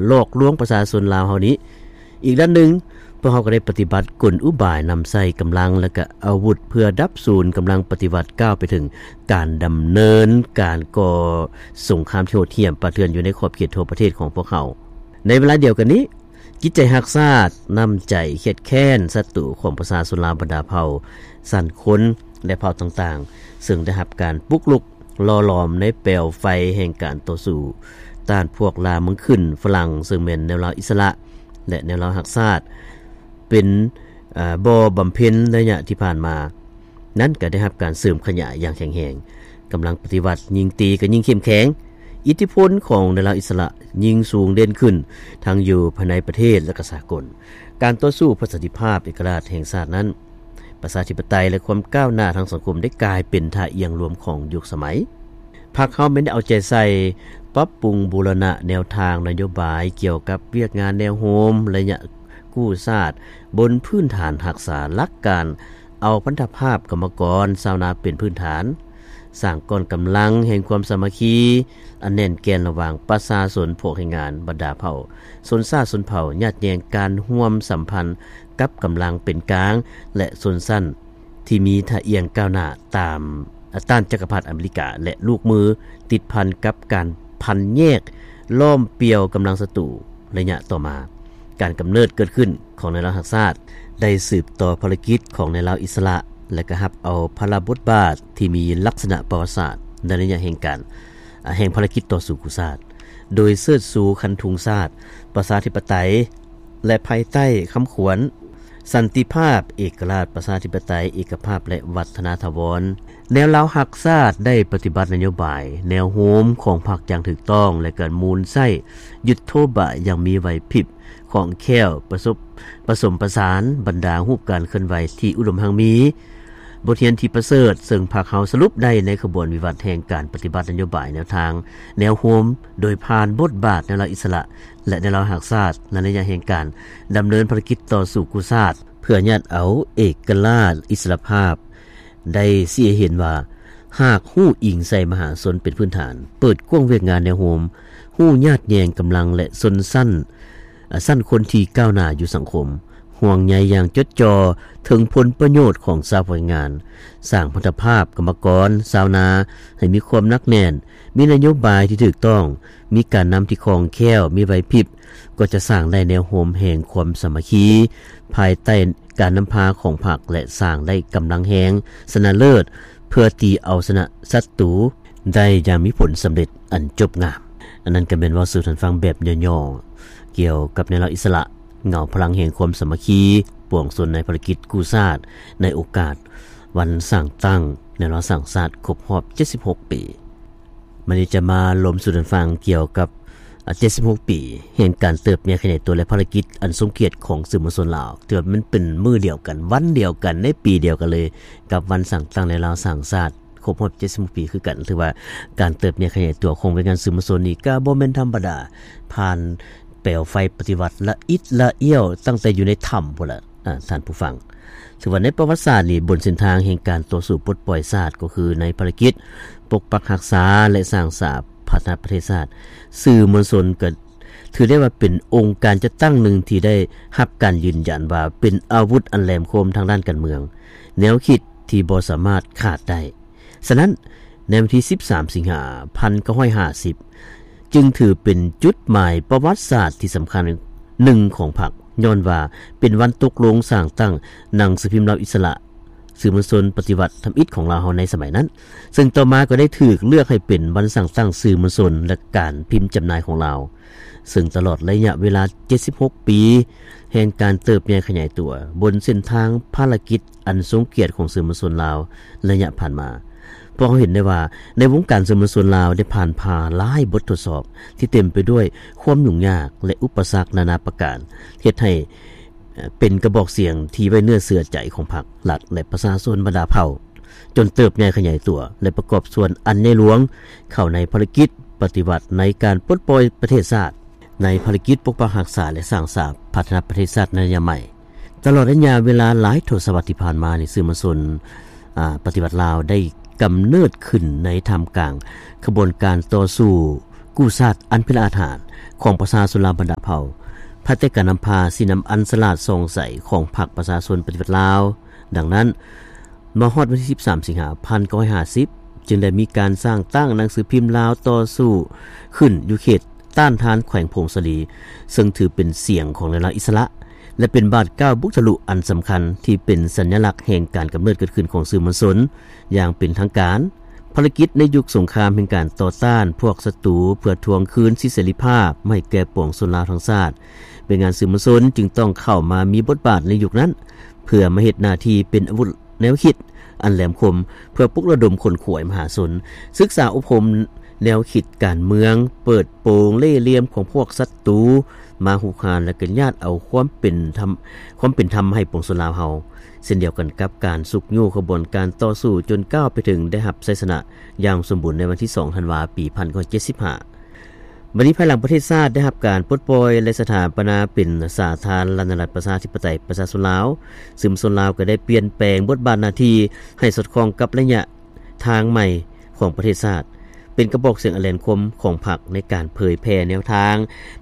ຫຼອກລວງປະຊາຊົນລາວເຮົານີ້. ອີກດ້ານໜຶ່ງ, ພວກເຮົາກໍໄດ້ປະຕິບັດກົນອຸບາຍນຳໃຊ້ກຳລັງ ແລະ ກະອາວຸດເພື່ອດັບສູນກຳລັງປະຕິວັດ ກ້າວໄປເຖິງການດຳເນີນການກໍ່ສົງຄາມທີ່ໂຫດຫ້ຽມປ່າເຖື່ອນຢູ່ໃນຂອບເຂດທົ່ວປະເທດຂອງພວກເຮົາ. ໃນເວລາດຽວກັນນີ້, ຈິດໃຈຮັກຊາດ, ນ້ຳໃຈຄຽດແຄ້ນສັດຕູຂອງປະຊາຊົນລາວບັນດາເຜົ່າ, ຊັ້ນຄົນ ແລະ ເຜົ່າຕ່າງໆ ເຊິ່ງໄດ້ຮັບການປຸກລຸກ ຫຼໍ່ຫຼອມໃນແປວໄຟແຫ່ງການຕໍ່ສູ້ຕ້ານພວກລ່າເມືອງຂຶ້ນຝຣັ່ງ ເຊິ່ງແມ່ນແນວລາວອິດສະຫຼະ ແລະ ແນວລາວຮັກຊາດ ເປັນ ເອີ ບໍ່ບຳເພັນໄລຍະທີ່ຜ່ານມານັ້ນ ກໍໄດ້ຮັບການເສີມຂະຫຍາຍຢ່າງແຂງແຮງ. ກຳລັງປະຕິວັດຍິ່ງຕີກໍຍິ່ງເຂັ້ມແຂງ. ອິດທິພົນຂອງແນວລາວອິດສະຫຼະຍິ່ງສູງເດັ່ນຂຶ້ນ ທັງຢູ່ພາຍໃນປະເທດ ແລະ ກໍສາກົນ. ການຕໍ່ສູ້ເພື່ອສັນຕິພາບເອກະລາດແຫ່ງຊາດນັ້ນ, ປະຊາທິປະໄຕ ແລະ ຄວາມກ້າວໜ້າທາງສັງຄົມໄດ້ກາຍເປັນທ່າອ່ຽງລວມຂອງຍຸກສະໄໝ. ພັກເຮົາແມ່ນໄດ້ເອົາໃຈໃສ່ປັບປຸງບູລະນະແນວທາງນະໂຍບາຍກ່ຽວກັບວຽກງານແນວໂຮມໄລຍະກູ້ຊາດ ບົນພື້ນຖານຮັກສາຫຼັກການເອົາພັນທະພາບກຳມະກອນຊາວນາເປັນພື້ນຖານ, ສ້າງກ້ອນກຳລັງແຫ່ງຄວາມສາມັກຄີອັນແໜ້ນແກ່ນລະຫວ່າງປະຊາຊົນ, ພວກແຮງງານ, ບັນດາເຜົ່າ, ຊົນຊາດຊົນເຜົ່າ, ຍາດແຍ່ງການຮ່ວມສຳພັນ ກັບກຳລັງເປັນກາງ ແລະ ຊົນຊັ້ນທີ່ມີທ່າອ່ຽງກ້າວໜ້າຕາມ ຕ້ານຈັກກະພັດອາເມລິກາ ແລະ ລູກມື ຕິດພັນກັບການພັນແຍກລ້ອມປ່ຽວກຳລັງສັດຕູ. ໄລຍະຕໍ່ມາ, ການກຳເນີດເກີດຂຶ້ນຂອງແນວລາວຮັກຊາດ ໄດ້ສືບຕໍ່ພາລະກິດຂອງແນວລາວອິດສະຫຼະ ແລະ ກໍຮັບເອົາພາລະບົດບາດທີ່ມີລັກສະນະປະຫວັດສາດໃນໄລຍະແຫ່ງການ ແຫ່ງພາລະກິດຕໍ່ສູ້ກູ້ຊາດ ໂດຍເຊີດຊູຄັນທຸງຊາດ, ປະຊາທິປະໄຕ ແລະ ພາຍໃຕ້ຄຳຂວັນ ສັນຕິພາບ, ເອກະລາດ, ປະຊາທິປະໄຕ, ເອກະພາບ ແລະ ວັດທະນາຖາວອນ. ແນວລາວຮັກຊາດໄດ້ປະຕິບັດນະໂຍບາຍແນວໂຮມຂອງພັກຢ່າງຖືກຕ້ອງ ແລະ ການໝູນໃຊ້ຍຸດໂທບາຍຢ່າງມີໄຫວພິບ, ຄ່ອງແຄ້ວ, ປະສົບ, ປະສົມປະສານບັນດາຮູບການເຄື່ອນໄຫວທີ່ອຸດົມຮັ່ງມີ. ບົດຮຽນທີ່ປະເສີດ ເຊິ່ງພັກເຮົາສະຫຼຸບໄດ້ໃນຂະບວນວິວັດແຫ່ງການປະຕິບັດນະໂຍບາຍແນວທາງແນວໂຮມ ໂດຍຜ່ານບົດບາດແນວລາວອິດສະຫຼະ ແລະ ແນວລາວຮັກຊາດ ໃນໄລຍະແຫ່ງການດຳເນີນພາລະກິດຕໍ່ສູ້ກູ້ຊາດ ເພື່ອຍາດເອົາເອກະລາດອິດສະຫຼະພາບ ໄດ້ຊີ້ໃຫ້ເຫັນວ່າ ຫາກຮູ້ອີງໃສ່ມະຫາຊົນເປັນພື້ນຖານ, ເປີດກວ້າງວຽກງານແນວໂຮມ, ຮູ້ຍາດແຍ່ງກຳລັງ ແລະ ຊົນຊັ້ນ ຊັ້ນຄົນທີ່ກ້າວໜ້າຢູ່ສັງຄົມ, ຫ່ວງໃຍຢ່າງຈົດຈ່ອເຖິງຜົນປະໂຫຍດຂອງຊາວແຮງງານ, ສ້າງພັນທະພາບກຳມະກອນຊາວນາໃຫ້ມີຄວາມໜັກແໜ້ນ, ມີນະໂຍບາຍທີ່ຖືກຕ້ອງ, ມີການນຳທີ່ຄ່ອງແຄ້ວ, ມີໄຫວພິບ, ກໍຈະສ້າງໄດ້ແນວໂຮມແຫ່ງຄວາມສາມັກຄີ ພາຍໃຕ້ການນຳພາຂອງພັກ ແລະ ສ້າງໄດ້ກຳລັງແຮງຊະນະເລີດ ເພື່ອຕີເອົາຊະນະສັດຕູໄດ້ຢ່າງມີຜົນສຳເລັດອັນຈົບງາມ. ອັນນັ້ນກໍແມ່ນເວົ້າສູ່ທ່ານຟັງແບບຫຍໍ້ໆ ກ່ຽວກັບແນວລາວອິດສະຫຼະ ເງົາພະລັງແຫ່ງຄວາມສາມັກຄີປວງຊົນໃນພາລະກິດກູ້ຊາດ ໃນໂອກາດວັນສ້າງຕັ້ງແນວລາວສ້າງຊາດຄົບຮອບເຈັດສິບຫົກປີ. ມື້ນີ້ຈະມາລົມສູ່ທ່ານຟັງກ່ຽວກັບ ອາ ເຈັດສິບຫົກປີແຫ່ງການເຕີບໃຫຍ່ຂະຫຍາຍຕົວ ແລະ ພາລະກິດອັນຊົງກຽດຂອງສື່ມວນຊົນລາວ. ຖືວ່າມັນເປັນມື້ດຽວກັນ, ວັນດຽວກັນ, ໃນປີດຽວກັນເລີຍກັບວັນສ້າງຕັ້ງແນວລາວສ້າງຊາດຄົບຮອບເຈັດສິບຫົກປີຄືກັນ. ຖືວ່າການເຕີບໃຫຍ່ຂະຫຍາຍຕົວຂອງວຽກງານສື່ມວນຊົນນີ້ກໍບໍ່ແມ່ນທຳມະດາ, ຜ່ານແປວໄຟປະຕິວັດລະອິດລະອ້ຽວຕັ້ງແຕ່ຢູ່ໃນຖ້ຳພຸ້ນລະ ອາ ທ່ານຜູ້ຟັງ. ຖືວ່າໃນປະຫວັດສາດນີ້, ບົນເສັ້ນທາງແຫ່ງການຕໍ່ສູ້ປົດປ່ອຍຊາດ ກໍຄືໃນພາລະກິດປົກປັກຮັກສາ ແລະ ສ້າງສາພັດທະນາປະເທດຊາດ, ສື່ມວນຊົນກໍຖືໄດ້ວ່າເປັນອົງການຈັດຕັ້ງໜຶ່ງທີ່ໄດ້ຮັບການຢືນຢັນວ່າເປັນອາວຸດອັນແຫຼມຄົມທາງດ້ານການເມືອງ, ແນວຄິດທີ່ບໍ່ສາມາດຂາດໄດ້. ສະນັ້ນ, ໃນວັນທີສິບສາມ ສິງຫາ ພັນເກົ້າຮ້ອຍຫ້າສິບ ຈຶ່ງຖືເປັນຈຸດໝາຍປະຫວັດສາດທີ່ສຳຄັນໜຶ່ງຂອງພັກ, ຍ້ອນວ່າເປັນວັນຕົກລົງສ້າງຕັ້ງໜັງສືພິມລາວອິດສະຫຼະ, ສື່ມວນຊົນປະຕິວັດທຳອິດຂອງລາວເຮົາໃນສະໄໝນັ້ນ, ເຊິ່ງຕໍ່ມາກໍໄດ້ຖືກເລືອກໃຫ້ເປັນວັນສ້າງຕັ້ງສື່ມວນຊົນ ແລະ ການພິມຈຳໜ່າຍຂອງລາວ. ເຊິ່ງຕະຫຼອດໄລຍະເວລາເຈັດສິບຫົກປີແຫ່ງການເຕີບໃຫຍ່ຂະຫຍາຍຕົວ ບົນເສັ້ນທາງພາລະກິດອັນຊົງກຽດຂອງສື່ມວນຊົນລາວໄລຍະຜ່ານມາ, ພວກເຮົາເຫັນໄດ້ວ່າໃນວົງການສື່ມວນຊົນລາວໄດ້ຜ່ານຜ່າຫຼາຍບົດທົດສອບທີ່ເຕັມໄປດ້ວຍຄວາມຫຍຸ້ງຍາກ ແລະ ອຸປະສັກນານາປະການ, ເຮັດໃຫ້ ເປັນກະບອກສຽງທີ່ໄວ້ເນື້ອເຊື່ອໃຈຂອງພັກ, ລັດ ແລະ ປະຊາຊົນບັນດາເຜົ່າ, ຈົນເຕີບໃຫຍ່ຂະຫຍາຍຕົວ ແລະ ປະກອບສ່ວນອັນໃຫຍ່ຫຼວງເຂົ້າໃນພາລະກິດປະຕິວັດໃນການປົດປ່ອຍປະເທດຊາດ, ໃນພາລະກິດປົກປັກຮັກສາ ແລະ ສ້າງສາພັດທະນາປະເທດຊາດໃນໄລຍະໃໝ່. ຕະຫຼອດໄລຍະເວລາຫຼາຍທົດສະວັດທີ່ຜ່ານມານີ້, ສື່ມວນຊົນ ອາ ປະຕິວັດລາວໄດ້ກຳເນີດຂຶ້ນໃນທ່າມກາງຂະບວນການຕໍ່ສູ້ ກູ້ຊາດອັນເປັນລາອາດຫານຂອງປະຊາຊົນລາວບັນດາເຜົ່າ ພາຍໃຕ້ການນຳພາຊີ້ນຳອັນສະຫຼາດສ່ອງໃສຂອງພັກປະຊາຊົນປະຕິວັດລາວ. ດັ່ງນັ້ນ, ມາຮອດວັນທີສິບສາມ ສິງຫາ ພັນເກົ້າຮ້ອຍຫ້າສິບ ຈຶ່ງໄດ້ມີການສ້າງຕັ້ງໜັງສືພິມລາວຕໍ່ສູ້ຂຶ້ນຢູ່ເຂດຕ້ານທານແຂວງຜົ້ງສາລີ, ເຊິ່ງຖືເປັນສຽງຂອງແນວລາວອິດສະຫຼະ ແລະ ເປັນບາດກ້າວບຸກທະລຸອັນສຳຄັນທີ່ເປັນສັນຍະລັກແຫ່ງການກຳເນີດເກີດຂຶ້ນຂອງສື່ມວນຊົນຢ່າງເປັນທາງການ. ພາລະກິດໃນຍຸກສົງຄາມແຫ່ງການຕໍ່ຕ້ານພວກສັດຕູເພື່ອທວງຄືນສິດເສລີພາບໃຫ້ແກ່ປວງຊົນລາວທັງຊາດ, ເວຍງານສື່ມວນຊົນຈຶ່ງຕ້ອງເຂົ້າມາມີບົດບາດໃນຍຸກນັ້ນ ເພື່ອມາເຮັດໜ້າທີ່ເປັນອາວຸດ ແນວຄິດອັນແຫຼມຄົມ ເພື່ອປຸກລະດົມຂົນຂວາຍມະຫາຊົນ, ສຶກສາອົບຮົມແນວຄິດການເມືອງ, ເປີດໂປງເລ່ຫຼ່ຽມຂອງພວກສັດຕູມາຮຸກຮານ ແລະ ກະຍາດເອົາຄວາມເປັນທຳ, ຄວາມເປັນທຳໃຫ້ປວງຊົນລາວເຮົາ, ເຊັ່ນດຽວກັນກັບການຊຸກຍູ້ຂະບວນການຕໍ່ສູ້ຈົນກ້າວໄປເຖິງໄດ້ຮັບໄຊຊະນະຢ່າງສົມບູນໃນວັນທີສອງ ທັນວາ ປີພັນເກົ້າຮ້ອຍເຈັດສິບຫ້າ. ບັດນີ້ ພາຍຫຼັງປະເທດຊາດໄດ້ຮັບການປົດປ່ອຍ ແລະ ສະຖາປະນາເປັນສາທາລະນະລັດປະຊາທິປະໄຕປະຊາຊົນລາວ, ສື່ມວນຊົນລາວກໍໄດ້ປ່ຽນແປງບົດບາດໜ້າທີ່ໃຫ້ສອດຄ່ອງກັບໄລຍະທາງໃໝ່ຂອງປະເທດຊາດ, ເປັນກະບອກສຽງອັນແຫຼມຄົມຂອງພັກໃນການເຜີຍແຜ່ແນວທາງ,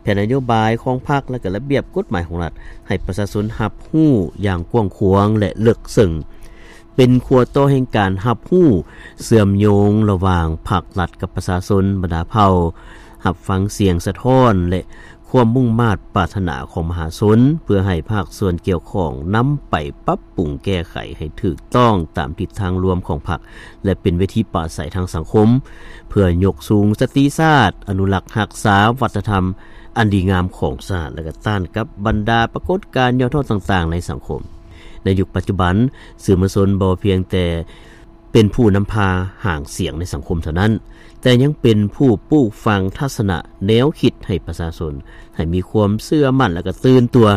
ແຜນນະໂຍບາຍຂອງພັກ ແລະ ກະລະບຽບກົດໝາຍຂອງລັດ ໃຫ້ປະຊາຊົນຮັບຮູ້ຢ່າງກວ້າງຂວາງ ແລະ ເລິກເຊິ່ງ. ເປັນຂົວຕໍ່ແຫ່ງການຮັບຮູ້ເຊື່ອມໂຍງລະຫວ່າງພັກລັດກັບປະຊາຊົນບັນດາເຜົ່າ, ຮັບຟັງສຽງສະທ້ອນ ແລະ ຄວາມມຸ່ງມາດປາດຖະໜາຂອງມະຫາຊົນ, ເພື່ອໃຫ້ພາກສ່ວນກ່ຽວຂ້ອງນຳໄປປັບປຸງແກ້ໄຂໃຫ້ຖືກຕ້ອງຕາມທິດທາງລວມຂອງພັກ ແລະ ເປັນເວທີປາໄສທາງສັງຄົມ, ເພື່ອຍົກສູງສະຕິຊາດ, ອະນຸລັກຮັກສາວັດທະນະທຳອັນດີງາມຂອງຊາດ ແລະ ກະຕ້ານກັບບັນດາປາກົດການຫຍໍ້ທໍ້ຕ່າງໆໃນສັງຄົມ. ໃນຍຸກປັດຈຸບັນ, ສື່ມວນຊົນບໍ່ພຽງແຕ່ເປັນຜູ້ນຳພາຫາງສຽງໃນສັງຄົມເທົ່ານັ້ນ, ແຕ່ຍັງເປັນຜູ້ປູກຝັງທັດສະນະແນວຄິດໃຫ້ປະຊາຊົນ ໃຫ້ມີຄວາມເຊື່ອໝັ້ນ ແລະ ກະຕື່ນຕົວ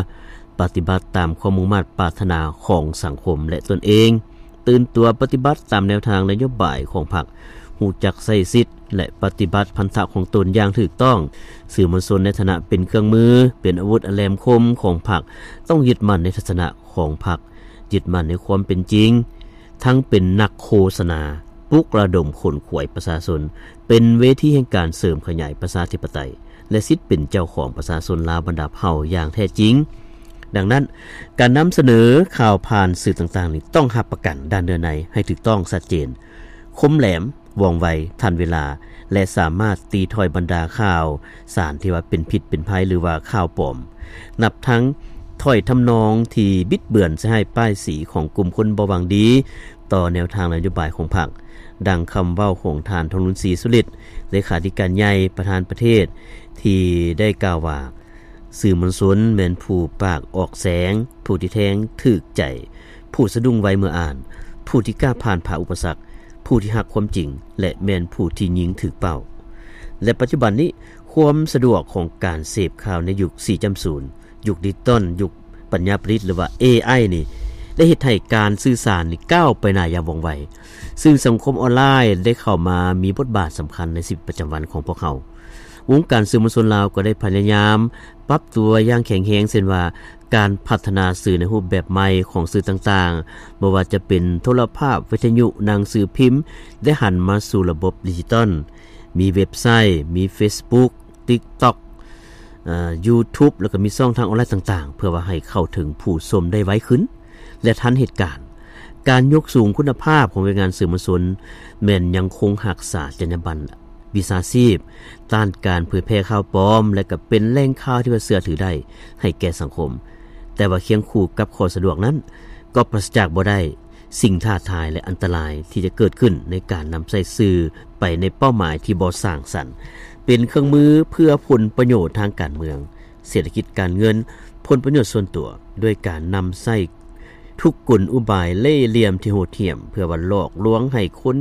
ປະຕິບັດຕາມຄວາມມຸ່ງມາດປາດຖະໜາຂອງສັງຄົມ ແລະ ຕົນເອງ, ຕື່ນຕົວປະຕິບັດຕາມແນວທາງນະໂຍບາຍຂອງພັກ, ຮູ້ຈັກໃຊ້ສິດ ແລະ ປະຕິບັດພັນທະຂອງຕົນຢ່າງຖືກຕ້ອງ. ສື່ມວນຊົນໃນຖານະເປັນເຄື່ອງມື, ເປັນອາວຸດອັນແຫຼມຄົມຂອງພັກ, ຕ້ອງຍຶດໝັ້ນໃນທັດສະນະຂອງພັກ, ຍຶດໝັ້ນໃນຄວາມເປັນຈິງ, ທັງເປັນນັກໂຄສະນາ, ປຸກລະດົມຂົນຂວາຍປະຊາຊົນ, ເປັນເວທີແຫ່ງການເສີມຂະຫຍາຍປະຊາທິປະໄຕ ແລະ ສິດເປັນເຈົ້າຂອງປະຊາຊົນລາວບັນດາເຜົ່າຢ່າງແທ້ຈິງ. ດັ່ງນັ້ນ, ການນຳສະເໜີຂ່າວຜ່ານສື່ຕ່າງໆນີ້ ຕ້ອງຮັບປະກັນດ້ານເນື້ອໃນໃຫ້ຖືກຕ້ອງ, ຊັດເຈນ, ຄົມແຫຼມ, ວ່ອງໄວ, ທັນເວລາ ແລະ ສາມາດຕີຖ້ອຍບັນດາຂ່າວສານທີ່ວ່າເປັນພິດເປັນໄພ ຫຼືວ່າຂ່າວປອມ, ນັບທັງຖ້ອຍທຳນອງທີ່ບິດເບືອນໃສ່ຮ້າຍປ້າຍສີຂອງກຸ່ມຄົນບໍ່ຫວັງດີຕໍ່ແນວທາງນະໂຍບາຍຂອງພັກ, ດັ່ງຄຳເວົ້າຂອງທ່ານ ທອງລຸນ ສີສຸລິດ, ເລຂາທິການໃຫຍ່ປະທານປະເທດ ທີ່ໄດ້ກ່າວວ່າ, ສື່ມວນຊົນແມ່ນຜູ້ປາກອອກແສງ, ຜູ້ທີ່ແທງຖືກໃຈ, ຜູ້ສະດຸ້ງໄວເມື່ອອ່ານ, ຜູ້ທີ່ກ້າຜ່ານຜ່າອຸປະສັກ, ຜູ້ທີ່ຮັກຄວາມຈິງ ແລະ ແມ່ນຜູ້ທີ່ຍິງຖືກເປົ້າ. ແລະ ປັດຈຸບັນນີ້, ຄວາມສະດວກຂອງການເສບຂ່າວໃນຍຸກສີ່ຈ້ຳສູນ, ຍຸກດິຈິຕອນ, ຍຸກປັນຍາປະດິດ ຫຼືວ່າ ເອໄອ ນີ້ ໄດ້ເຮັດໃຫ້ການສື່ສານນີ້ກ້າວໄປໜ້າຢ່າງວ່ອງໄວ, ສື່ສັງຄົມອອນລາຍໄດ້ເຂົ້າມາມີບົດບາດສຳຄັນໃນຊີວິດປະຈຳວັນຂອງພວກເຮົາ. ວົງການສື່ມວນຊົນລາວກໍໄດ້ພະຍາຍາມປັບຕົວຢ່າງແຂງແຮງ, ເຊັ່ນວ່າ ການພັດທະນາສື່ໃນຮູບແບບໃໝ່ຂອງສື່ຕ່າງໆ, ບໍ່ວ່າຈະເປັນໂທລະພາບ, ວິທະຍຸ, ໜັງສືພິມ ໄດ້ຫັນມາສູ່ລະບົບດິຈິຕອນ, ມີເວັບໄຊ, ມີເຟສບຸກ, ຕິກຕັອກ, ເອີ່, ຢູທູບ ແລ້ວກໍມີຊ່ອງທາງອອນລາຍຕ່າງໆ ເພື່ອວ່າໃຫ້ເຂົ້າເຖິງຜູ້ຊົມໄດ້ໄວຂຶ້ນ ແລະ ທັນເຫດການ. ການຍົກສູງຄຸນນະພາບຂອງວຽກງານສື່ມວນຊົນ ແມ່ນຍັງຄົງຮັກສາຈັນຍາບັນ ວິຊາຊີບ, ຕ້ານການເຜີຍແຜ່ຂ່າວປອມ ແລະ ກໍເປັນແຫຼ່ງຂ່າວທີ່ວ່າເຊື່ອຖືໄດ້ໃຫ້ແກ່ສັງຄົມ. ແຕ່ວ່າຄຽງຄູ່ກັບຂໍ້ສະດວກນັ້ນ ກໍປາສະຈາກບໍ່ໄດ້ສິ່ງທ້າທາຍ ແລະ ອັນຕະລາຍທີ່ຈະເກີດຂຶ້ນໃນການນຳໃຊ້ສື່ໄປໃນເປົ້າໝາຍທີ່ບໍ່ສ້າງສັນ, ເປັນເຄື່ອງມືເພື່ອຜົນປະໂຫຍດທາງການເມືອງ, ເສດຖະກິດການເງິນ, ຜົນປະໂຫຍດສ່ວນຕົວ, ດ້ວຍການນຳໃຊ້ທຸກກົນອຸບາຍເລ່ຫຼ່ຽມທີ່ໂຫດຫ້ຽມ ເພື່ອວ່າຫຼອກລວງໃຫ້ຄົນ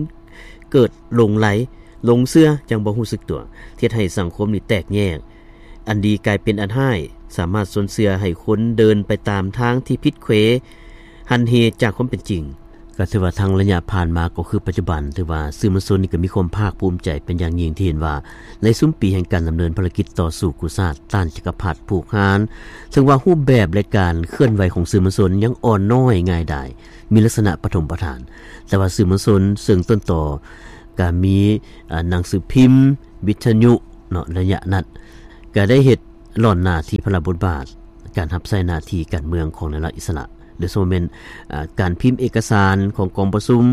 ເກີດຫຼົງໄຫຼ, ຫຼົງເຊື່ອຢ່າງບໍ່ຮູ້ສຶກຕົວ, ເຮັດໃຫ້ສັງຄົມນີ້ແຕກແຍກ, ອັນດີກາຍເປັນອັນຮ້າຍ, ສາມາດຊົນເຊື່ອໃຫ້ຄົນເດີນໄປຕາມທາງທີ່ຜິດເຂວ, ຫັນເຫຈາກຄວາມເປັນຈິງ. ກໍຖືວ່າທັງໄລຍະຜ່ານມາກໍຄືປັດຈຸບັນ, ຖືວ່າສື່ມວນຊົນນີ້ກໍມີຄວາມພາກພູມໃຈເປັນຢ່າງຍິ່ງທີ່ເຫັນວ່າ ໃນຊຸມປີແຫ່ງການດຳເນີນພາລະກິດຕໍ່ສູ້ກູ້ຊາດຕ້ານຈັກກະພັດຜູກຫານ, ເຖິງວ່າຮູບແບບ ແລະ ການເຄື່ອນໄຫວຂອງສື່ມວນຊົນຍັງອ່ອນນ້ອຍ, ງ່າຍດາຍ, ມີລັກສະນະປະຖົມປະຖານ, ແຕ່ວ່າສື່ມວນຊົນເຊິ່ງຕົ້ນຕໍກໍມີ ອາ ໜັງສືພິມ, ວິທະຍຸ, ເນາະ ໄລຍະນັ້ນ ກໍໄດ້ເຮັດຫຼ້ອນໜ້າທີ່ພາລະບົດບາດການຮັບໃຊ້ໜ້າທີ່ການເມືອງຂອງນາຍລັດອິດສະຫຼະ ໂດຍສະເພາະແມ່ນ ອາ ການພິມເອກະສານຂອງກອງປະຊຸມ,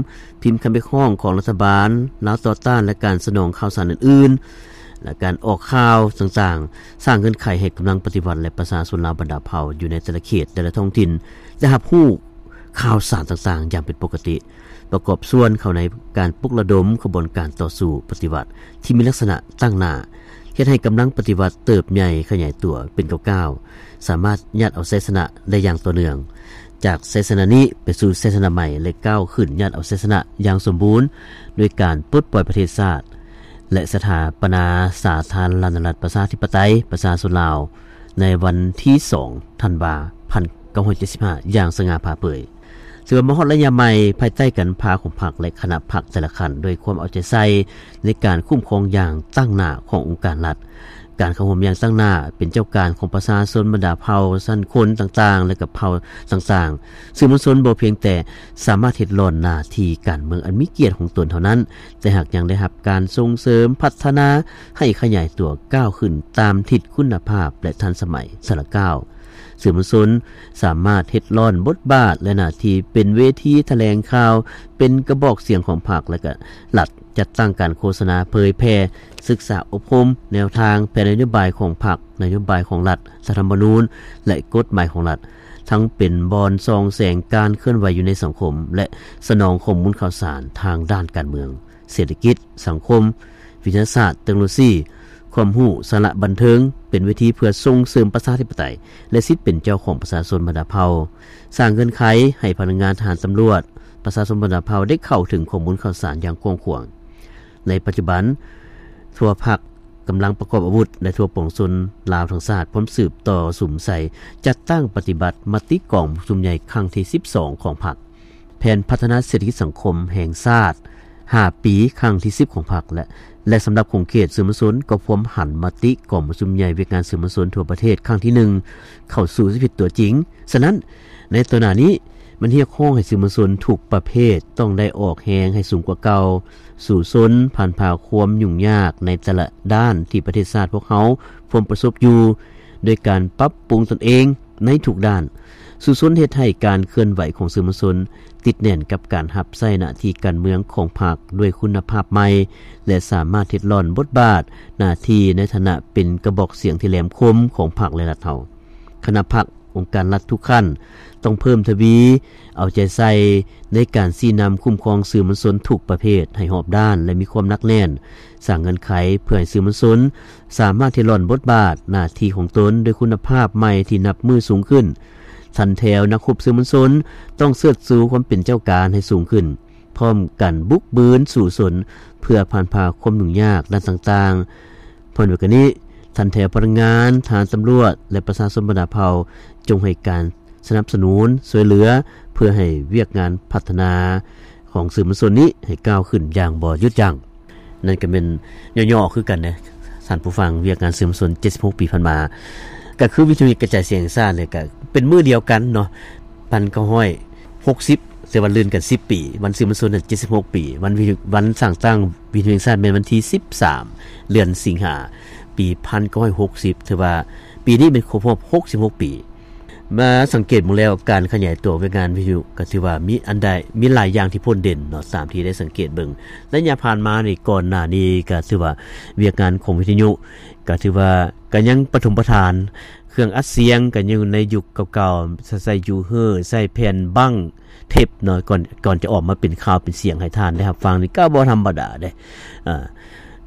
ພິມຄຳຮຽກຮ້ອງຂອງລັດຖະບານລາວຕໍ່ຕ້ານ ແລະ ການສະໜອງຂ່າວສານອື່ນໆ ແລະ ການອອກຂ່າວຕ່າງໆ, ສ້າງເງື່ອນໄຂໃຫ້ກຳລັງປະຕິວັດ ແລະ ປະຊາຊົນລາວບັນດາເຜົ່າຢູ່ໃນແຕ່ລະເຂດ ແຕ່ລະທ້ອງຖິ່ນ ໄດ້ຮັບຮູ້ຂ່າວສານຕ່າງໆຢ່າງເປັນປົກກະຕິ. ປະກອບສ່ວນເຂົ້າໃນການປຸກລະດົມຂະບວນການຕໍ່ສູ້ປະຕິວັດທີ່ມີລັກສະນະຕັ້ງໜ້າ, ເຮັດໃຫ້ກຳລັງປະຕິວັດເຕີບໃຫຍ່ຂະຫຍາຍຕົວເປັນກ້າວໆ, ສາມາດຍາດເອົາໄຊຊະນະໄດ້ຢ່າງຕໍ່ເນື່ອງ. ຈາກໄຊຊະນະນີ້ໄປສູ່ໄຊຊະນະໃໝ່ ແລະ ກ້າວຂຶ້ນຍາດເອົາໄຊຊະນະຢ່າງສົມບູນ ດ້ວຍການປົດປ່ອຍປະເທດຊາດ ແລະ ສະຖາປະນາສາທາລະນະລັດປະຊາທິປະໄຕປະຊາຊົນລາວ ໃນວັນທີສອງ ທັນວາ ພັນເກົ້າຮ້ອຍເຈັດສິບຫ້າ ຢ່າງສະຫງ່າຜ່າເຜີຍ. ຖືວ່າມາຮອດໄລຍະໃໝ່ ພາຍໃຕ້ການນຳພາຂອງພັກ ແລະ ຄະນະພັກແຕ່ລະຂັ້ນ ດ້ວຍຄວາມເອົາໃຈໃສ່ໃນການຄຸ້ມຄອງຢ່າງຕັ້ງໜ້າຂອງອົງການລັດ, ການເຂົ້າຮ່ວມຢ່າງຕັ້ງໜ້າເປັນເຈົ້າການຂອງປະຊາຊົນບັນດາເຜົ່າ, ຊັ້ນຄົນຕ່າງໆ ແລະ ກັບເຜົ່າຕ່າງໆ. ສື່ມວນຊົນບໍ່ພຽງແຕ່ສາມາດເຮັດຫຼ້ອນໜ້າທີ່ການເມືອງອັນມີກຽດຂອງຕົນເທົ່ານັ້ນ, ແຕ່ຫາກຍັງໄດ້ຮັບການສົ່ງເສີມພັດທະນາໃຫ້ຂະຫຍາຍຕົວກ້າວຂຶ້ນຕາມທິດຄຸນນະພາບ ແລະ ທັນສະໄໝ. ສາລະກ້າວ ສື່ມວນຊົນສາມາດເຮັດຫຼ້ອນບົດບາດ ແລະ ໜ້າທີ່ເປັນເວທີຖະແຫຼງຂ່າວ, ເປັນກະບອກສຽງຂອງພັກ ແລະ ກະລັດ, ຈັດຕັ້ງການໂຄສະນາເຜີຍແຜ່, ສຶກສາອົບຮົມແນວທາງ, ແຜນນະໂຍບາຍຂອງພັກ, ນະໂຍບາຍຂອງລັດ, ລັດຖະທຳມະນູນ ແລະ ກົດໝາຍຂອງລັດ, ທັງເປັນບ່ອນສ່ອງແສງການເຄື່ອນໄຫວຢູ່ໃນສັງຄົມ ແລະ ສະໜອງຂໍ້ມູນຂ່າວສານທາງດ້ານການເມືອງ, ເສດຖະກິດ, ສັງຄົມ, ວິທະຍາສາດ, ເຕັກໂນໂລຊີ, ຄວາມຮູ້, ສາລະບັນເທີງ, ເປັນເວທີເພື່ອສົ່ງເສີມປະຊາທິປະໄຕ ແລະ ສິດເປັນເຈົ້າຂອງປະຊາຊົນບັນດາເຜົ່າ, ສ້າງເງື່ອນໄຂໃຫ້ພະນັກງານ, ທະຫານ, ຕຳຫຼວດ, ປະຊາຊົນບັນດາເຜົ່າໄດ້ເຂົ້າເຖິງຂໍ້ມູນຂ່າວສານຢ່າງກວ້າງຂວາງ. ໃນປັດຈຸບັນ, ທົ່ວພັກກຳລັງປະກອບອາວຸດ ແລະ ທົ່ວປວງຊົນລາວທັງຊາດ ພ້ອມສືບຕໍ່ສຸມໃສ່ຈັດຕັ້ງປະຕິບັດມະຕິກອງປະຊຸມໃຫຍ່ຄັ້ງທີສິບສອງຂອງພັກ, ແຜນພັດທະນາເສດຖະກິດສັງຄົມແຫ່ງຊາດຫ້າປີຄັ້ງທີສິບຂອງພັກ ແລະ ແລະ ສຳລັບຂົງເຂດສື່ມວນຊົນກໍພວມຫັນມະຕິກອງປະຊຸມໃຫຍ່ວຽກງານສື່ມວນຊົນທົ່ວປະເທດຄັ້ງທີໜຶ່ງເຂົ້າສູ່ຊີວິດຕົວຈິງ. ສະນັ້ນ, ໃນຕໍ່ໜ້ານີ້ ມັນຮຽກຮ້ອງໃຫ້ສື່ມວນຊົນທຸກປະເພດຕ້ອງໄດ້ອອກແຮງໃຫ້ສູງກວ່າເກົ່າ, ສູ້ຊົນ, ຜ່ານຜ່າຄວາມຫຍຸ້ງຍາກໃນແຕ່ລະດ້ານທີ່ປະເທດຊາດພວກເຮົາພວມປະສົບຢູ່, ໂດຍການປັບປຸງຕົນເອງໃນທຸກດ້ານ. ສູ້ຊົນເຮັດໃຫ້ການເຄື່ອນໄຫວຂອງສື່ມວນຊົນຕິດແໜ້ນກັບການຮັບໃຊ້ໜ້າທີ່ການເມືອງຂອງພັກດ້ວຍຄຸນນະພາບໃໝ່ ແລະ ສາມາດເຮັດຫຼ້ອນບົດບາດໜ້າທີ່ໃນຖານະເປັນກະບອກສຽງທີ່ແຫຼມຄົມຂອງພັກ ແລະ ລັດເຮົາ. ຄະນະພັກ, ອົງການລັດທຸກຂັ້ນ ຕ້ອງເພີ່ມທະວີເອົາໃຈໃສ່ໃນການຊີ້ນຳຄຸ້ມຄອງສື່ມວນຊົນທຸກປະເພດໃຫ້ຮອບດ້ານ ແລະ ມີຄວາມໜັກແໜ້ນ, ສ້າງເງື່ອນໄຂເພື່ອໃຫ້ສື່ມວນຊົນສາມາດເຮັດຫຼ້ອນບົດບາດໜ້າທີ່ຂອງຕົນດ້ວຍຄຸນນະພາບໃໝ່ທີ່ນັບມື້ສູງຂຶ້ນ. ທັນແຖວນັກຮົບສື່ມວນຊົນຕ້ອງເຊີດຊູຄວາມເປັນເຈົ້າການໃຫ້ສູງຂຶ້ນ, ພ້ອມກັນບຸກບືນສູ້ຊົນເພື່ອຜ່ານຜ່າຄວາມຫຍຸ້ງຍາກດ້ານຕ່າງໆ. ພ້ອມດຽວກັນນີ້, ທັນແຖວພະນັກງານ, ທະຫານ, ຕຳຫຼວດ ແລະ ປະຊາຊົນບັນດາເຜົ່າ ຈົ່ງໃຫ້ການສະໜັບສະໜູນຊ່ວຍເຫຼືອ ເພື່ອໃຫ້ວຽກງານພັດທະນາຂອງສື່ມວນຊົນນີ້ໃຫ້ກ້າວຂຶ້ນຢ່າງບໍ່ຢຸດຢັ້ງ. ນັ້ນກໍແມ່ນຫຍໍ້ໆຄືກັນເດ້ ທ່ານຜູ້ຟັງ, ວຽກງານສື່ມວນຊົນເຈັດສິບຫົກປີຜ່ານມາ ກໍຄືວິທະຍຸກະຈາຍສຽງແຫ່ງຊາດນີ້ ກໍເປັນມື້ດຽວກັນເນາະ ພັນເກົ້າຮ້ອຍຫົກສິບ ແຕ່ວ່າລື່ນກັນສິບປີ, ວັນສື່ມວນຊົນນັ້ນເຈັດສິບຫົກປີ, ວັນວິ ວັນສ້າງຕັ້ງວິທະຍຸແຫ່ງຊາດແມ່ນວັນທີສິບສາມ ເດືອນສິງຫາ ປີພັນເກົ້າຮ້ອຍຫົກສິບ, ຖືວ່າປີນີ້ແມ່ນຄົບຮອບຫົກສິບຫົກປີ. ມາສັງເກດເບິ່ງແລ້ວ ການຂະຫຍາຍຕົວວຽກງານວິທະຍຸກໍຖືວ່າມີອັນໃດ ມີຫຼາຍຢ່າງທີ່ພົ້ນເດັ່ນເນາະ, ຕາມທີ່ໄດ້ສັງເກດເບິ່ງໄລຍະຜ່ານມານີ້, ກ່ອນໜ້ານີ້ກໍຖືວ່າວຽກງານຂອງວິທະຍຸກໍຖືວ່າກໍຍັງປະຖົມປະຖານ, ເຄື່ອງອັດສຽງກໍຢູ່ໃນຍຸກເກົ່າໆ, ໃຊ້ ຢູ່ເຮີ ໃຊ້ແຜ່ນບັ້ງເທບເນາະ, ກ່ອນ ກ່ອນຈະອອກມາເປັນຂ່າວເປັນສຽງໃຫ້ທ່ານໄດ້ຮັບຟັງນີ້ກໍບໍ່ທຳມະດາເດ້. ອາ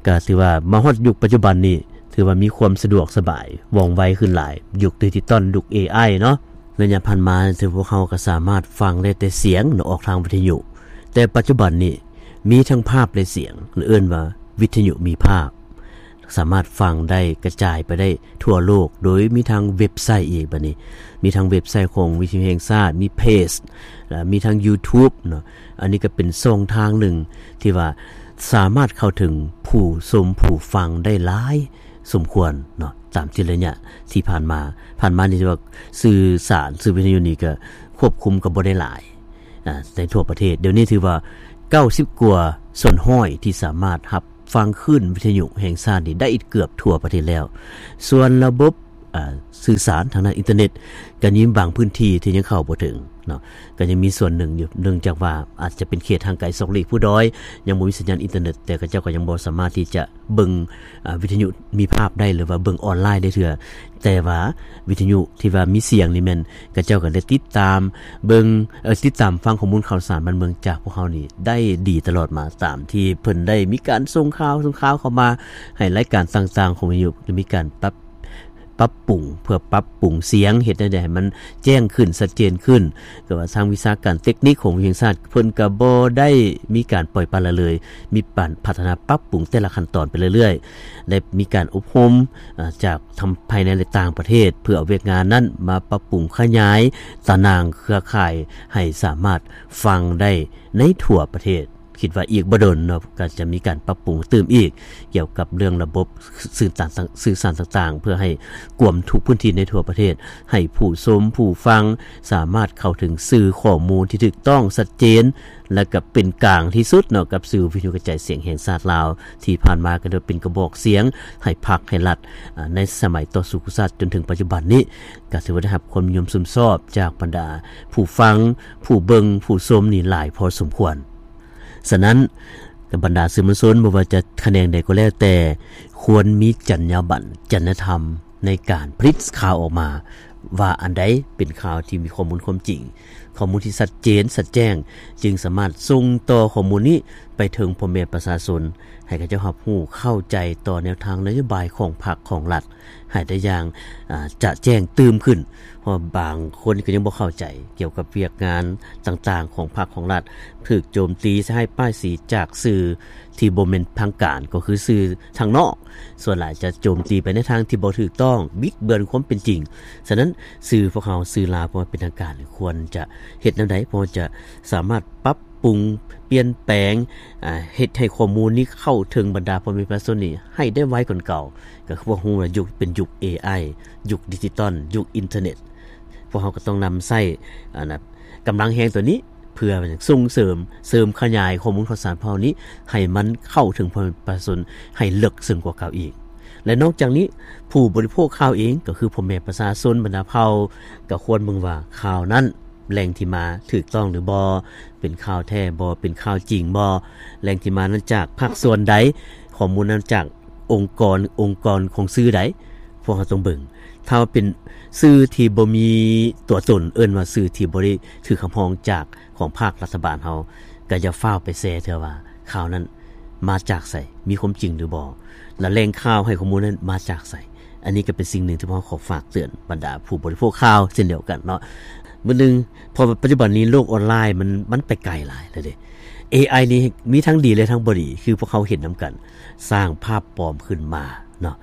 ກໍຖືວ່າມາຮອດຍຸກປັດຈຸບັນນີ້ ຖືວ່າມີຄວາມສະດວກສະບາຍ ວ່ອງໄວຂຶ້ນຫຼາຍ, ຍຸກດິຈິຕອນ, ຍຸກ ເອໄອ ເນາະ. ໄລຍະຜ່ານມາ ຖືພວກເຮົາກໍສາມາດຟັງໄດ້ແຕ່ສຽງເນາະ ອອກທາງວິທະຍຸ, ແຕ່ປັດຈຸບັນນີ້ມີທັງພາບ ແລະ ສຽງ ເອີ້ນວ່າວິທະຍຸມີພາບ. ສາມາດຟັງໄດ້ກະຈາຍໄປໄດ້ທົ່ວໂລກ ໂດຍມີທັງເວັບໄຊອີກ. ບັດນີ້ມີທັງເວັບໄຊຂອງວິທະຍຸແຫ່ງຊາດ, ມີເພຈ ແລະ ມີທັງ YouTube ເນາະ. ອັນນີ້ກໍເປັນຊ່ອງທາງໜຶ່ງທີ່ວ່າສາມາດເຂົ້າເຖິງຜູ້ຊົມຜູ້ຟັງໄດ້ຫຼາຍສົມຄວນເນາະ, ຕາມທີ່ໄລຍະທີ່ຜ່ານມາ, ຜ່ານມານີ້ຖືວ່າສື່ສານ, ສື່ວິທະຍຸນີ້ກໍຄວບຄຸມກໍບໍ່ໄດ້ຫຼາຍ ອາ ໃນທົ່ວປະເທດ. ດຽວນີ້ຖືວ່າເກົ້າສິບກວ່າສ່ວນຮ້ອຍທີ່ສາມາດຮັບ ຟັງຄື້ນວິທະຍຸແຫ່ງຊາດນີ້ໄດ້ເກືອບທົ່ວປະເທດແລ້ວ. ສ່ວນລະບົບ ອ່າ ສື່ສານທາງດ້ານອິນເຕີເນັດ ກໍຍັງມີບາງພື້ນທີ່ທີ່ຍັງເຂົ້າບໍ່ເຖິງເນາະ, ກໍຍັງມີສ່ວນໜຶ່ງຢູ່ ເນື່ອງຈາກວ່າອາດຈະເປັນເຂດຫ່າງໄກຊອກຫຼີກພູດອຍ ຍັງບໍ່ມີສັນຍານອິນເຕີເນັດ, ແຕ່ເຂົາເຈົ້າກໍຍັງບໍ່ສາມາດທີ່ຈະເບິ່ງ ອ່າ ວິທະຍຸມີພາບໄດ້ ຫຼືວ່າເບິ່ງອອນລາຍໄດ້ເທື່ອ. ແຕ່ວ່າວິທະຍຸທີ່ວ່າມີສຽງນີ້ແມ່ນ ເຂົາເຈົ້າກໍໄດ້ຕິດຕາມເບິ່ງ ເອີ ຕິດຕາມຟັງຂໍ້ມູນຂ່າວສານບ້ານເມືອງຈາກພວກເຮົານີ້ໄດ້ດີຕະຫຼອດມາ ຕາມທີ່ເພິ່ນໄດ້ມີການສົ່ງຂ່າວ ສົ່ງຂ່າວເຂົ້າມາໃຫ້ລາຍການຕ່າງໆຂອງວິທະຍຸ ໄດ້ມີການປັບ ປັບປຸງ ເພື່ອປັບປຸງສຽງ ເຮັດແນວໃດໃຫ້ມັນແຈ້ງຂຶ້ນ ຊັດເຈນຂຶ້ນ. ແຕ່ວ່າທາງວິຊາການເຕັກນິກຂອງວິທະຍຸແຫ່ງຊາດ ເພິ່ນກໍບໍ່ໄດ້ມີການປ່ອຍປະລະເລີຍ ມີການພັດທະນາປັບປຸງແຕ່ລະຂັ້ນຕອນໄປເລື້ອຍໆ ແລະ ມີການອົບຮົມ ເອີ ຈາກ ທັງພາຍໃນ ແລະ ຕ່າງປະເທດ ເພື່ອເອົາວຽກງານນັ້ນມາປັບປຸງຂະຫຍາຍຕາໜ່າງເຄືອຂ່າຍໃຫ້ສາມາດຟັງໄດ້ໃນທົ່ວປະເທດ. ຄິດວ່າອີກບໍ່ດົນເນາະ ກໍຈະມີການປັບປຸງຕື່ມອີກ ກ່ຽວກັບເລື່ອງລະບົບສື່ສານຕ່າງໆ ເພື່ອໃຫ້ກວມທຸກພື້ນທີ່ໃນທົ່ວປະເທດ ໃຫ້ຜູ້ຊົມຜູ້ຟັງສາມາດເຂົ້າເຖິງສື່ຂໍ້ມູນທີ່ຖືກຕ້ອງ ຊັດເຈນ ແລະ ກໍເປັນກາງທີ່ສຸດເນາະ ກັບສູນວິທະຍຸກະຈາຍສຽງແຫ່ງຊາດລາວ ທີ່ຜ່ານມາກໍໄດ້ເປັນກະບອກສຽງໃຫ້ພັກໃຫ້ລັດ ອາ ໃນສະໄໝຕໍ່ສູ້ກູ້ຊາດຈົນເຖິງປັດຈຸບັນນີ້ ກໍຖືວ່າໄດ້ຮັບຄວາມນິຍົມຊົມຊອບຈາກບັນດາຜູ້ຟັງ ຜູ້ເບິ່ງ ຜູ້ຊົມນີ້ຫຼາຍພໍສົມຄວນ. ສະນັ້ນ ກັບບັນດາສື່ມວນຊົນ ບໍ່ວ່າຈະຂະແໜງໃດກໍແລ້ວແຕ່ ຄວນມີຈັນຍາບັນ ຈັນຍະທຳ ໃນການຜະລິດຂ່າວອອກມາ ວ່າອັນໃດເປັນຂ່າວທີ່ມີຂໍ້ມູນຄວາມຈິງ, ຂໍ້ມູນທີ່ຊັດເຈນ ຊັດແຈ້ງ ຈຶ່ງສາມາດສົ່ງຕໍ່ຂໍ້ມູນນີ້ໄປເຖິງພໍ່ແມ່ປະຊາຊົນ ໃຫ້ເຂົາເຈົ້າຮັບຮູ້ເຂົ້າໃຈຕໍ່ແນວທາງນະໂຍບາຍຂອງພັກຂອງລັດ ໃຫ້ໄດ້ຢ່າງ ອາ ຈະແຈ້ງຕື່ມຂຶ້ນ. ເພາະວ່າບາງຄົນກໍຍັງບໍ່ເຂົ້າໃຈກ່ຽວກັບວຽກງານຕ່າງໆຂອງພັກຂອງລັດ ຖືກໂຈມຕີໃສ່ຮ້າຍປ້າຍສີຈາກສື່ທີ່ບໍ່ແມ່ນທາງການ ກໍຄືສື່ທາງນອກ ສ່ວນຫຼາຍຈະໂຈມຕີໄປໃນທາງທີ່ບໍ່ຖືກຕ້ອງ ບິດເບືອນຄວາມເປັນຈິງ. ສະນັ້ນ ສື່ພວກເຮົາ ສື່ລາວບໍ່ເປັນທາງການ ຄວນຈະເຮັດແນວໃດ ພໍຈະສາມາດປັບປຸງ ປ່ຽນແປງ ອາ ເຮັດໃຫ້ຂໍ້ມູນນີ້ເຂົ້າເຖິງບັນດາພໍ່ແມ່ປະຊາຊົນນີ້ໃຫ້ໄດ້ໄວກວ່າເກົ່າ. ກໍຄືພວກເຮົາຮູ້ວ່າຍຸກເປັນຍຸກເອໄອ ຍຸກດິຈິຕອນ ຍຸກອິນເຕີເນັດ ພວກເຮົາກໍຕ້ອງນຳໃຊ້ ອັນນ່າ ກຳລັງແຮງຕົວນີ້ ເພື່ອສົ່ງເສີມ ເສີມຂະຫຍາຍຂໍ້ມູນຂ່າວສານພວກເຮົານີ້ ໃຫ້ມັນເຂົ້າເຖິງປະຊາຊົນໃຫ້ເລິກເຊິ່ງກວ່າເກົ່າອີກ. ແລະ ນອກຈາກນີ້ ຜູ້ບໍລິໂພກຂ່າວເອງ ກໍຄືພໍ່ແມ່ປະຊາຊົນບັນດາເຜົ່າ ກໍຄວນເບິ່ງວ່າຂ່າວນັ້ນ ແຫຼ່ງທີ່ມາຖືກຕ້ອງຫຼືບໍ່, ເປັນຂ່າວແທ້ບໍ່, ເປັນຂ່າວຈິງບໍ່, ແຫຼ່ງທີ່ມານັ້ນຈາກພາກສ່ວນໃດ, ຂໍ້ມູນນັ້ນຈາກອົງກອນ, ອົງກອນຂອງສື່ໃດ, ພວກເຮົາຕ້ອງເບິ່ງ. ຖ້າວ່າເປັນສື່ທີ່ບໍ່ມີຕົວຕົນ, ເອີ້ນວ່າສື່ທີ່ບໍ່ໄດ້ຖືກຮັບຮອງຈາກຂອງພາກລັດຖະບານເຮົາ, ກໍຢ່າຟ້າວໄປແຊເທື່ອວ່າຂ່າວນັ້ນມາຈາກໃສ, ມີຄວາມຈິງຫຼືບໍ່, ແລະ ແຫຼ່ງຂ່າວໃຫ້ຂໍ້ມູນນັ້ນມາຈາກໃສ. ອັນນີ້ກໍເປັນສິ່ງໜຶ່ງທີ່ພວກເຮົາຂໍຝາກເຕືອນບັນດາຜູ້ບໍລິໂພກຂ່າວເຊັ່ນດຽວກັນເນາະ. ມື້ໜຶ່ງ ເພາະວ່າປັດຈຸບັນນີ້ໂລກອອນລາຍມັນ, ມັນໄປໄກຫຼາຍແລ້ວເດ້. ເອໄອນີ້ມີທັງດີ ແລະ ທັງບໍ່ດີ ຄືພວກເຮົາເຫັນນຳກັນ, ສ້າງພາບປອມຂຶ້ນມາເນາະ,